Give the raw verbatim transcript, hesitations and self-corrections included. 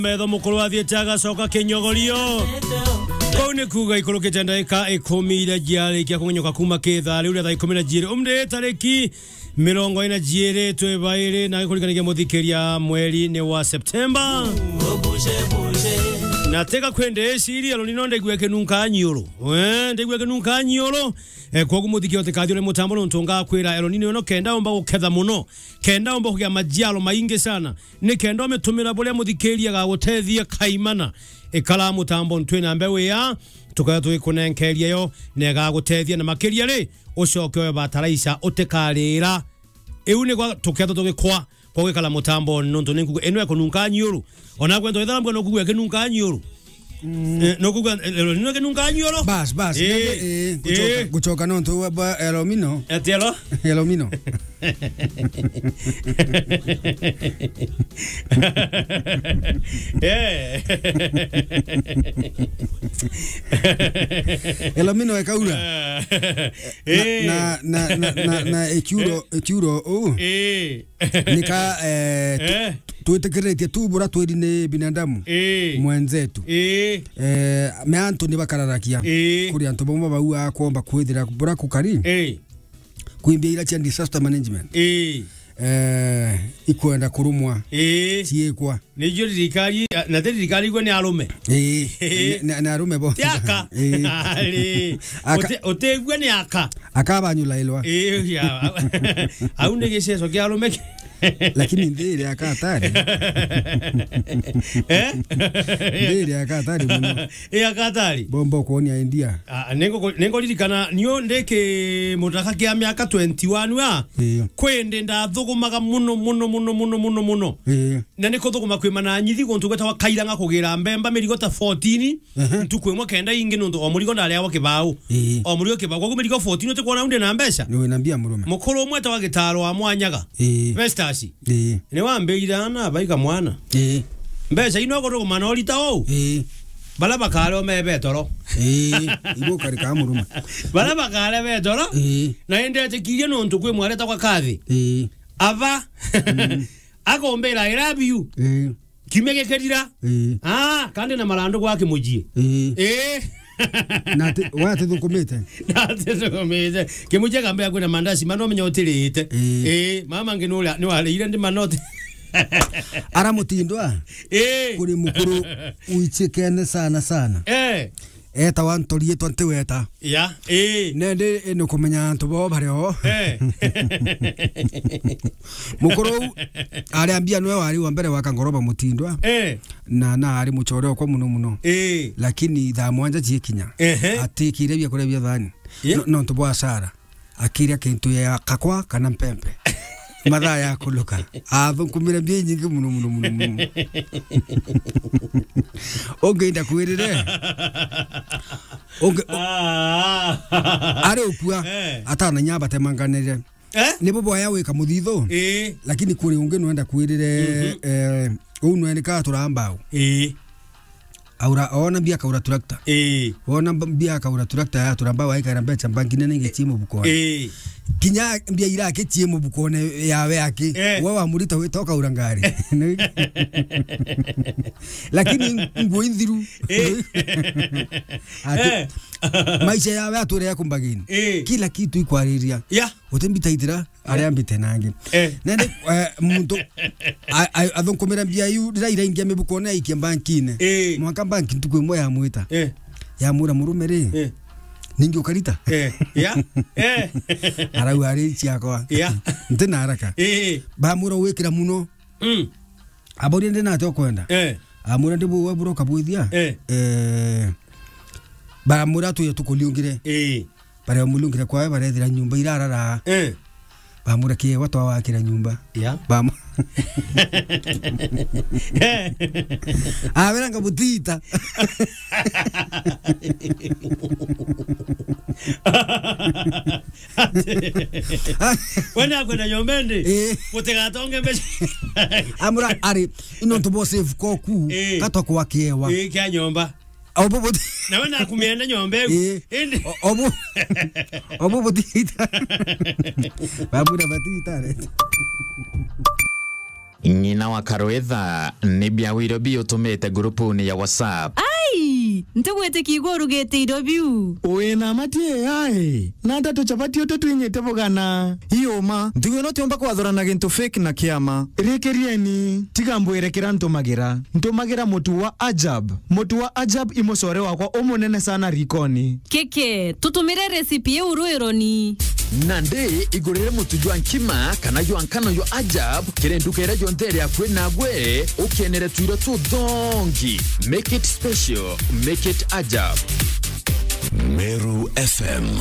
Metho mukuru athiite agacoka kinyogorio. Kuu ni kuuga ikurukite ndagika ikumi iria ciarikia kungenyoka kuuma kithaa riu ria thaa ikumi na jiiri. Umri tariki mirongo ina na jiiri twi bairi na kurikanagia muthikiria mweri ni wa Septemba. Na tiga kwende iciri, Elonino ndigua kinunka nyiuru. Eh, ndigua kinunka nyiuru. Eh, kwogu muthikiria utikathire mutambo nontu ngakwira Elonino ino kenda umba guketha muno. Kenda umba kugia majiaro maingi sana. Ni kenda umitumira buria muthikiria gagutethia kaimana. Ikara mutambo ntwi na mbeu ya, tukaya tugikunenkeria yo, na igagutethia na makiria ri, ucoke oe bataraisa utikarira. Iu ni gwa tuketha tugikwa kwa gwikara mutambo nontu ni nkugu ino ikununka nyiuru. Ona kwenda wethara mbwa no kugua kinunka nyiuru. Mm. Eh, no kugua, eh, no kinunka nyiuru. Bas, bas. Eh, eh, gucoka, eh. Gucoka nontu wa bwa Elomino. Ati elo? Elomino. Eh. Elomino ekaura. Eh. Na, na, na, na, na, na ekiuro, ekiuro, uu. Eh. Nika, eh, tu-, eh, twitikiritie tu bura twiri ni binadamu. Eh. Mwenzetu. Eh. Eh, me antu ni bakararakia. Eh. Kuri antu bamwe bau akwomba kwithira bura kukari. Eh. Kwimbia ira cia disaster management. Ii. Eh, ikwenda kurumwa. Ii. Ciikwa. Nicio thirikari, na ti thirikari igwe ni arume. Ii. Ii. Ni, ni, ni arume bo. Ti aka. Ii. Ari. Aka- Uti-, utigwe ni aka. Akabanyulailwa. Ii, ya. Au ni giceco kia arume ki- Lakini nthi iri aka hatari. Eh? Nthi iri aka hatari muno. Ii, aka hatari. Bomba kuonia India. Ah, ningo-, ningoririkana nio ndi kimutaka kia miaka twenty-one wa. Ii. Kwi ndi ndathugumaga muno, muno, muno. Ii. Na ni kuthuguma kwi mananyithi guntu gwetagwa Kairang'a kugira mbemba mirigo ta fourteen. Ehe. Ntuku imwe kenda ingi nontu o murigo ndariagwa kibau. Ii. O murigo kibau. Koguo mirigo fourteen utikwona undi na mbeca? Ni wina mbia murume. Mukuru umwe etagwa Gitaro wa Mwanyaga. Ii. Festus. Ii. Ni wambirire ana abaika mwana. Ii. Mbeca ino kuthuguma na urita uu. Ii. Bara bakare ome betoro. Ii. Ibo karika murume. Bara bakare betoro. Ii. Na indi etikirie nontu kwi mwari etagwa Kathi. Ii. Aba. Mm. Akombira, "I love you." Ii. Kiumia gikirira. Ii. Ah, kandi na marandu gwake mujii. Ii. Ii. Na ati, we atithukumite? Na atithukumite. Kimujia kambia kwina mandaci, mana umenya utirite. Ii. Ii, mama ngi nuria, ni warire ndi manoti. Ara Mutindwa? Ii. Kuri mukuru uichikene sana sana. Eh. Etawa Ntorietwa Ntiweta. Ya, ii. Nendi ni kumenya antu bao bari o. Eh. Mukuru u ari ambia nwe wari wa mbere wa Kangoroba Mutindwa. Eh. Na, na ari muchore okwa muno muno. Eh. Lakini thaa mwanja ciekinya, ehe, atikire bia kuria bia thani. Yeah. No, nontu bwa Sara. Akiria kintu ya kakwa kana mpempe. Mathaa ya kuluka. Athukumire mbia inyingi muno, muno, muno, muno. Ungi ndakwirire. Ungi, ah, ari ukua, eh, atana nyamba temanganire. Eh? Nibo boya wika muthithu. Eh. Lakini kuri ungi nwenda kwirire, mhm, eh, uu nwenika turambau. Eh. Aura, ona mbia akaura tractor. Ii. Ona mb-, mbia akaura tractor ya turamba waikara mbeca mbangi nene ingi cii mubukone. Ii. Kinya mbia ira aki cii mubukone yawe aki. Eh. We wamurita wita ukaura ngari. Lakini nguo inthiru. Eh. Ati, eh, maisha yawe ature ya kumbagini. Eh. Kila kitu ikwariria. Ya. Utimbitaitira. Aria mbite nangi. Eh. Nende, eh, muntu a-, a-, athunkumira mbia iu, rira iraingia mibukone aikia mbankine. Eh. Mwanka mbanki ntuku imwe yamwita. Eh. Yamwira, "Murume ri, eh, ningi ukarita?" Eh. Ya. Eh. Arau ari ciakwa. Ya. Nti na haraka. Eh. Bamwira, "Wikira muno." Mm. Aboria, "Ndi nate ukwenda?" Eh. Amwira, "Ndi buwe buroka bwithia." Eh. Eh. Baramwira, "Tuye tukuliungire." Eh. Baria mulungire kwawe barethira nyumba irarara. Eh. Bamwira, "Kiewa twawakira nyumba." Ya. Bamu-, abera nga butita. Wena akwenda nyomba indi? Eh. Mutigatonge mbeca. Amwira, "Ari, ino ntubo save koku, eh, katwa kwa kiewa." Eh, kia nyomba. Obo buti- Nawe nakumenda nyomba iu. Ii. Indi. O-, obo. Obo butita. Babura batita re. Ng'ina wa Karwitha, ni biawiro biutumite ngurupuni ya WhatsApp. Ai! Ntigwitikia igwe urugite irio biu. Wina mati ai? Na ata tucabati utu twinyite bugana? Iuma. Ntigu ino tiumba kwathurana gintu fake na kiama. Rikirieni, tiga mbwire kira ntumagira. Ntumagira mutu wa Ajab. Mutu wa Ajab i mucore wakwa umunene sana rikoni. Keke, tutumire recipe iu rwironi. Nandi igurire mutu jwa nkima kana jwa nkano jwa Ajab kiri nduka iria yonthe iri akui nagwe, ukenere twiro tuthongi. Make it special, make it Ajab. Meru F M.